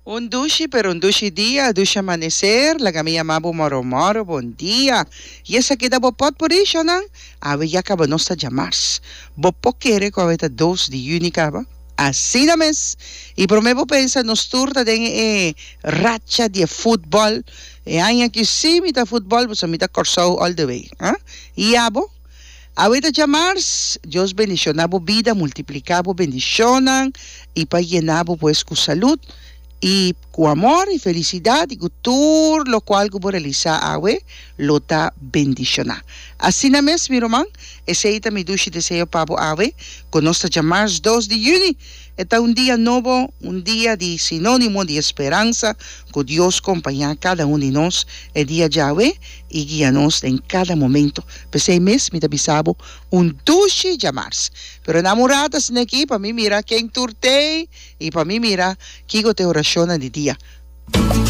Un dushi pero un dushi dia, dushi amanecer, laga mi yama bo moro moro, bon dia. Y esaki ta bo potpourri, shonan? Awe ya caba nos ta djamars. Bo por kere cu awe ta dos di juni caba? Asina mes! Y prome bo pensa nos tur ta den e racha di e futbol. E aña aki si mi ta futbol pasobra mi ta Corsou all the way. Ah? Y abo? Awe ta djamars, Dios bendiciona bo bida, multiplica bo bendicionnan y pa yena bo pues cu salud y cu amor y felicidad y cu tur locual cu bo realisa awe lo ta bendiciona. Asina mes mi ruman, esey ta mi dushi deseo pa bo awe cu nos ta djamars dos di juni. E ta un dia nobo, un dia di sinónimo di esperansa ku Dios kompañá kada un di nos e dia djawe i guia nos den kada momento. P'esei mes mi ta bisa bo un dushi djamars. Pero na un rato asina aki pa mi mira ken tur t'ei i pa mi mira kiko ta e orashonnan di dia.